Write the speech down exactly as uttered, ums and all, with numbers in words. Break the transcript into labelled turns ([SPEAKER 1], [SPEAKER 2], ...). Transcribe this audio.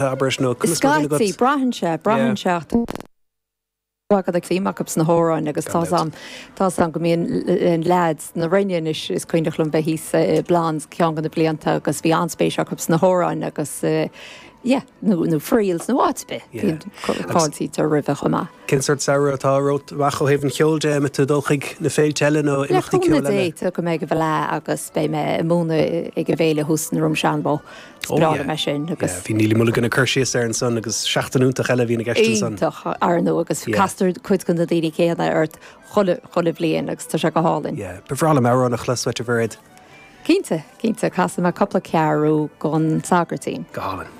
[SPEAKER 1] Abair nó conas mar a bhíonn agat?
[SPEAKER 2] Scaití, braitheann sé, braitheann sé ach tá ag suim acu sna hamhráin agus tá 's a'm, tá 's a'm go mbíonn leaids na Roinne anois, is cuimhneach liom bheith thíos i Blondes ceann de na blianta agus bhí an-spéis acu sna hamhráin agus yeah, nó nó Friels nó áit ar bith, bíonn fáiltítear roimhe chomh maith.
[SPEAKER 1] Cén sórt samhradh atá romhat amach ó thaobh an cheoil de? An mbeidh tú ag dul chuig na féilte eile nó
[SPEAKER 2] Le
[SPEAKER 1] imeachtaí
[SPEAKER 2] cúnamh
[SPEAKER 1] ceoil
[SPEAKER 2] Dé,
[SPEAKER 1] eile?
[SPEAKER 2] tiocfaidh mé ag an bhFleadh agus beidh mé ag múineadh ag an bhféile thuas i nDroim Seanbhó. Is
[SPEAKER 1] Oh
[SPEAKER 2] breá
[SPEAKER 1] yeah.
[SPEAKER 2] liom é sin
[SPEAKER 1] Yeah,
[SPEAKER 2] agus.
[SPEAKER 1] bhí Neilí Mulligan ag cur síos air ansan agus seachtain iontach eile a bhíonn i gceist ansan.
[SPEAKER 2] Iontach, ar ndóigh, agus
[SPEAKER 1] Yeah.
[SPEAKER 2] castar cuid de na daoine céanna ort chuile, chuile bhliain agus tá sé go hálainn.
[SPEAKER 1] Yeah, ba bhreá liom amhrán a chlos uait, a Mhairéad.
[SPEAKER 2] Cinnte, cinnte, casfaidh mé cúpla ceathrú den Sagairtín.
[SPEAKER 1] Go hálainn.